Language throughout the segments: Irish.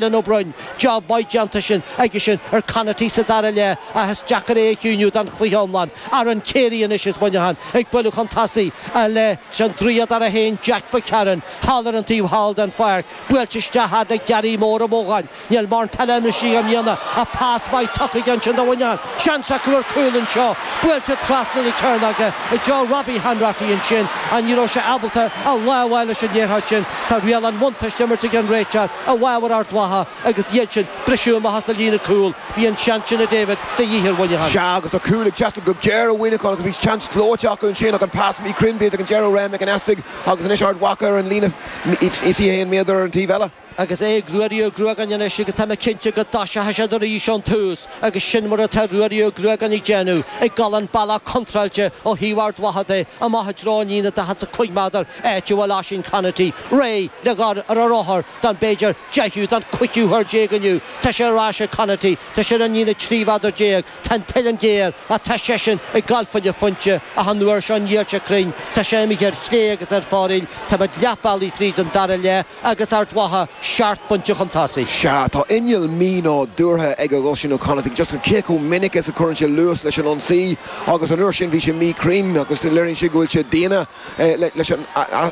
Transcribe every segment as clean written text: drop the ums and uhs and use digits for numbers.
Dylan Ó Broin, job maith déanta sin aige sin ar Conaty sa dara leath ach is deacair é a chiúiniú don chluiche iomlán. Aaron Carey anois as Muineachán ag bualadh chun tosaigh leis an draíodóir féin Jack McCarron thall ar an taobh thall den pháirc. Buailte isteach fhad le Gary Mór Ó Módháin. Níl mórán peile imeartha i mbliana ach pas maith tugtha aige ansin do Mhuineachán. Seans acu ar cúl anseo. Buailte trasna na cearnóige i dtreo Robbie Hanratty ansin ach ní raibh sé ábalta a lámh a fháil leis an liathróid sin. Tá riail an bhuntáiste á imirt ag an réiteoir i bhfabhar Ard Mhacha agus iad sin briseadh amach as na líne cúil. Bhí an seans sin a David de dhíth ar Mhuineachán. Sea agus tá cúl ag teastáil go géar ó Mhuineachán agus bhí seans gleoite acu ansin ach an pas míchruinn b'fhéidir ag an deireadh ó Ryan Mhic an Easpaig agus anois Ard Mhacha ar an líne 21 méadar ar an taobh eile. Agus é ag Ruairí Ó Gruagáin anois agus tá mé cinnte go dtoiseochaidh siad arís ón tús agus sin mar atá Ruairí Ó Gruagáin ag déanamh, ag dul an bealach contráilte ó thaobh Ard Mhacha de, amach i dtreo an líne 45 méadar, áit a bhfuil Oisín Conaty réidh le dhul ar a rothar don b'fhéidir deichiú, don chúigiú huair déag inniu. Tá sé ar ais ag Conaty, tá sé ar an líne 13 mhéadar, tá an tsuileann géar ach tá seisean ag dul fá choinne phointe ach an uair seo níl sé cruinn, tá sé imithe ar chlé agus ar foraíl, tá muid leath bealaigh fríd an dara leath. agus Ard Mhacha seacht bpointe chun tosaigh. Sea, tá inneall mí-nádúrtha ag Oisín Ó Connachta, just cé chomh minic is a chuireann sé luas leis an ionsaí agus an uair sin bhí sé míchruinn agus léiríonn sé go bhfuil sé daonna leis an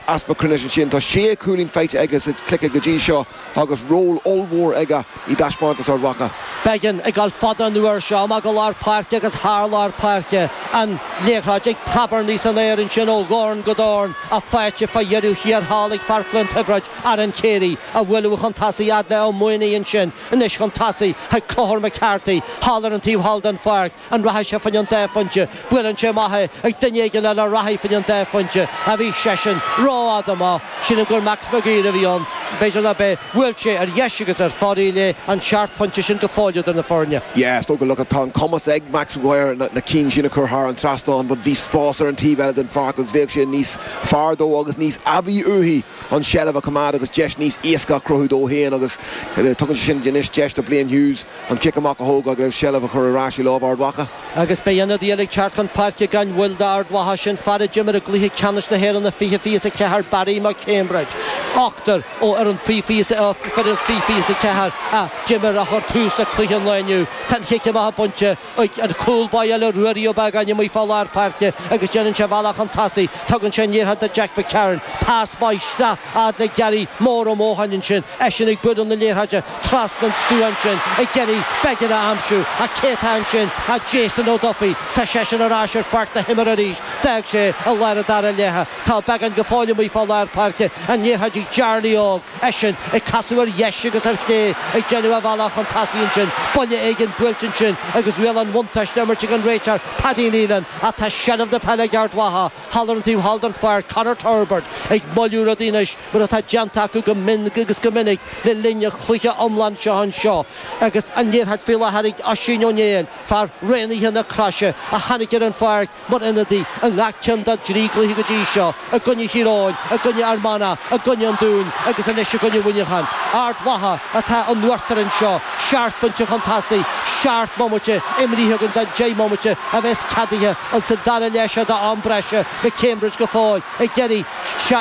easpa cruinnis ansin. Tá sé chúilín faighte aige sa chluiche go dtí seo agus ról ollmhór aige i dtaispeántas Ard Mhacha. Beggan ag dul fada an uair seo, amach go lár páirce agus thar lár páirce. An liathróid ag preabarnaigh san aer ansin ó dhorn go dorn ach faighte fá dheireadh thiar thall ag fear Chluain Tiobraid, Aaron Carey, á bhualadh chun tosaigh fhad le Ó Maonaigh ansin anois chun tosaigh chuig Conchúr McCarthy thall ar an taobh thall den pháirc. An rachaidh sé fá choinne an dá phointe? Buaileann sé amach é ag duine éigin eile a rachaidh fá choinne an dá phointe ach bhí seisean rófhada amach. Sílim gur Max Maguire a bhí ann. B'fhéidir ná b'é. Bhuail sé ar dheis agus ar foraíl é an seacht phointe sin go fóill idir na foirne. Yeah, is dócha, look, tá an cumas ag Max Maguire na cinn sin a chur thar an trasnán but bhí spás ar an taobh eile den pháirc agus bheadh sé níos fearr dó agus níos aibí uaithi an tseilbh a choimeád agus deis níos éasca a chruthú dó féin agus tugann sé sin anois deis do Blaine Hughes an cic amach a thógáil agus seilbh a chur ar ais i lámh Ard Mhacha. Agus beidh ionadaí eile ag teacht chun páirce gan mhoill d'Ard Mhacha, sin fear a d'imir i gcluiche ceannais na hÉireann i 2024, Barry McCambridge. Ochtar ó fhoireann 2024 a d'imir a chuir tús le cluiche an lae inniu. Tá an chic amach bainte ag an chúl báire eile, Ruairí Ó Beagáin, amuigh fá lár páirce agus déanann sé a bhealach chun tosaigh. Tugann sé an liathróid do Jack McCarron. Pas maith isteach fhad le Gary Mór Ó Mócháin ansin, eisean ag bualadh na liathróide trasna an stua ansin ag iarraidh Beggan a aimsiú ach cé atá ansin ach Jason O'Duffy. Tá seisean ar ais ar pháirc na himeartha arís. D'fhág sé i lár an dara leatha. Tá Beggan go fóill amuigh fá lár páirce. An liathróid ag Jarly Óg. Eisean ag casadh ar dheis agus ar chlé ag déanamh a bhealach chun tosaigh ansin. Buille éigin buailte ansin agus riail an bhuntáiste á imirt ag an réiteoir Paddy Nealon ach tá seilbh na peile ag Ard Mhacha. Thall ar an taobh thall den pháirc, Conor Turbirt ag moilliú rudaí anois mar atá déanta acu go mion agus go minic le linn an chluiche iomlán seo anseo agus an liathróid faoi láthair ag Oisín Ó Néill, fear raonaithe na Croise a tháinig ar an pháirc mar ionadaí i ngach ceann dá dtrí gcluiche go dtí seo, i gcoinne Thír Eoghain, i gcoinne Fhear Manach, i gcoinne an Dúin agus anois i gcoinne Mhuineacháin. Ard Mhacha atá in uachtar anseo, seacht bpointe chun tosaigh, seacht mbomaite imrithe againn den deich mbomaite a bheas ceadaithe ins an dara leath seo d'am breise McCambridge go fóill ag iarraidh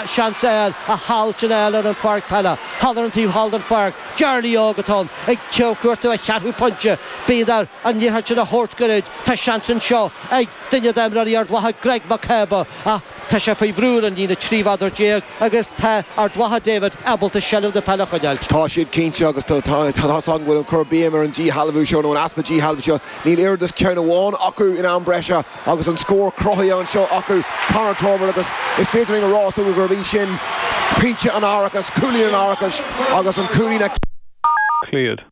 seans a fháil a sheal sin a fháil ar an pháirc peile. Thall ar an taobh thall den pháirc, Jarly Óg atá ann ag cuartú a cheathrú pointe. Bíonn air an liathróid sin a thabhairt gairid. Tá seans anseo ag duine d'imreoirí Ard Mhacha, Greg Mac Cába, ach tá sé faoi bhrú ar an líne 13 mheadar agus tá Ard Mhacha David ábalta seilbh na peile a choinneáilt. Tá siad cinnte agus tá tá's agam go bhfuil an cur béim ar an díshealbhú seo nó an easpa díshealbhú seo. Níl oiread is ceann amháin acu in am breise agus an scór cruthaithe anseo acu, Conor Turbitt agus is féidir linn a rá is dócha gurb í sin pointe an árachais, cúilín an árachais agus an cúilín a. Cleared.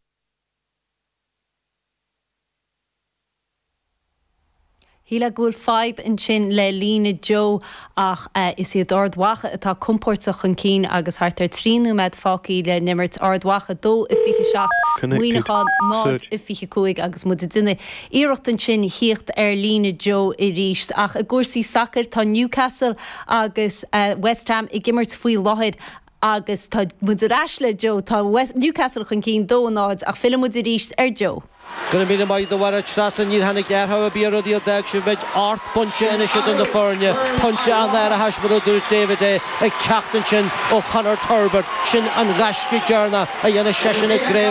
Shílfeá go bhfuil fadhb ansin le líne Joe ach is iad Ard Mhacha atá compóirteach chun cinn agus thart ar 3 nóiméad fágtha le n-imirt. Ard Mhacha 2-27, Connected. Muineachán Third. 0-25 agus muid ag déanamh iarracht ansin thíocht ar líne Joe arís. Ach i gcúrsaí sacair tá Newcastle agus West Ham ag imirt faoi láthair. Agus tá muid ar ais le Joe. Tá Newcastle chun cinn, 2, 0, ach filleann muid arís ar Joe. Go raibh míle maith agat a Mháire Treasa, níor tháinig athrú ar bith ar rudaí a d'fhág sibh beidh 8 bpointe anois idir na foirne, pointe an-árachais mar a dúirt David é ag teacht ansin ó Chonor Turbitt, sin an gaisce deireanach a dhéanfaidh seisean i gcraobh.